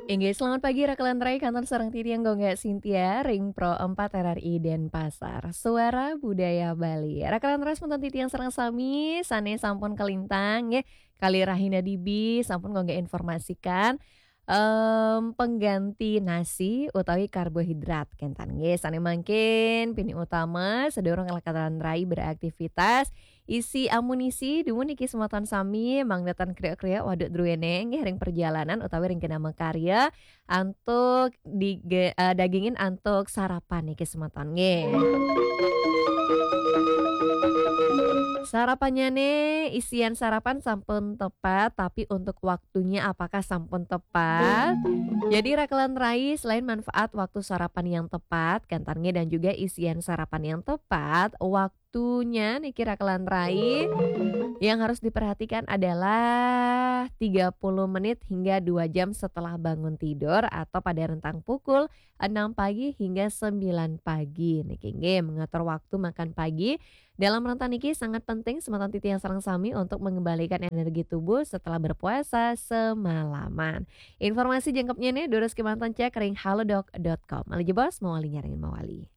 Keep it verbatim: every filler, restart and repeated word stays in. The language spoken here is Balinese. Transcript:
Inggih, selamat pagi, Raka lan Rai, kantun sareng titiang Gongga Sintia, ring Pro empat R R I Denpasar. Suara Budaya Bali. Raka lan Rai, semeton titiang sareng sami, sane sampun kalintang, nggih, kali rahina dibi, sampun Gongga informasikan, em, pengganti nasi utawi karbohidrat, kenten, nggih. Sane mangkin, pinih utama, sadurung Raka lan Rai beraktivitas, isi amunisi, dumun niki semeton sami, mangda ten kriuk-kriuk, waduk druene, nggih, ring perjalanan utawi ring kena makarya, antuk dige-, eh, dagingin antuk sarapan niki semeton, nggih. Sarapannyane, isian sarapan sampun tepat, tapi untuk waktunya apakah sampun tepat? Jadi, Raka lan Rai, selain manfaat waktu sarapan yang tepat, kenten, nggih, dan juga isian sarapan yang tepat, waktunya niki, Raka lan Rai, yang harus diperhatikan adalah tiga puluh menit hingga dua jam setelah bangun tidur atau pada rentang pukul enam pagi hingga sembilan pagi. Niki, nggih, mengatur waktu makan pagi dalam rentang niki sangat penting semeton titiang sareng sami untuk mengembalikan energi tubuh setelah berpuasa semalaman. Informasi jangkepnyane durus kemanten cek ring halodoc dot com. Malih jebos, mawali nyarengin mawali.